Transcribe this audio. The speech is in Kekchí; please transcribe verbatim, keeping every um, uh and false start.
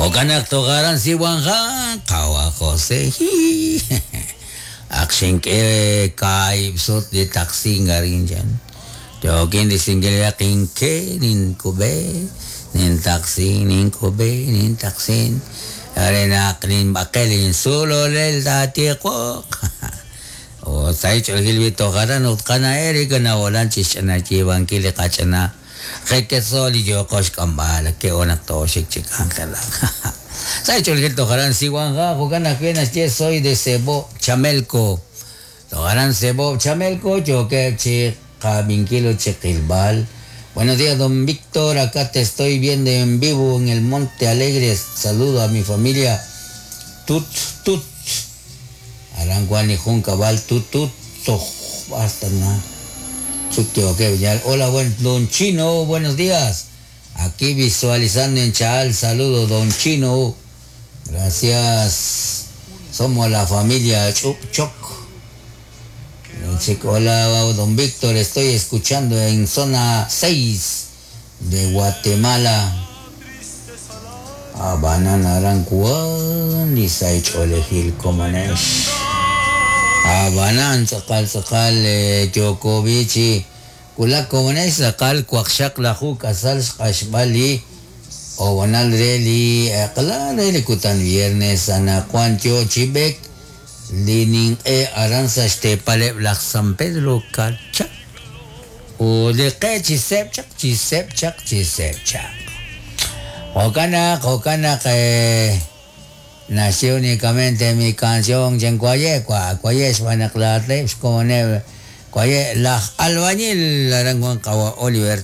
Jo'kan tojaran siwanja qawa José Akxink'e kaib sut li taxi ngarin jan. Yokin disingil kinke nin kube nin taxi nin kube nin taxin. Arena nin bakelin sulo lel datiqoq. O sai ch'olil bitojaran utqana Erika na wolan chixch'ana chibankil qach'ana. Jequesoli yo koxk'ambal ke ona toxik chikangela. Sai ch'olil tojaran siwanja jo'kan ajwi' naxye soy de Cebo Chamelco. Tojaran Cebo Chamelco yoke chi qabinkilo chiqilbal. Buenos días, don Víctor, acá te estoy viendo en vivo en el Monte Alegre. Saludo a mi familia. Tut, tut. Aranguan y Juncabal, tut, tut. Toj, basta, na. Hola, buen, don Chino, buenos días. Aquí visualizando en Chaal, saludo, don Chino. Gracias. Somos la familia Chup Choc. Hola, don Víctor, estoy escuchando en zona seis de Guatemala. Abanan arankuan, lisaich olejil comanesh. Abanan tzakal tzakal yokovichi. Kulak comanesh tzakal kuakshak lahu kasal shkashbali. Obanal reli, akla reli kutan viernes anakuan chibek. Linin e aranza este pale San Pedro Carcha o de que chisep chak chisep chak chisep chak Jokana jokana que nació únicamente mi canción en cuaye cua cuaye spanaklatep como neve cuaye la albañil aranguan kawa Oliver.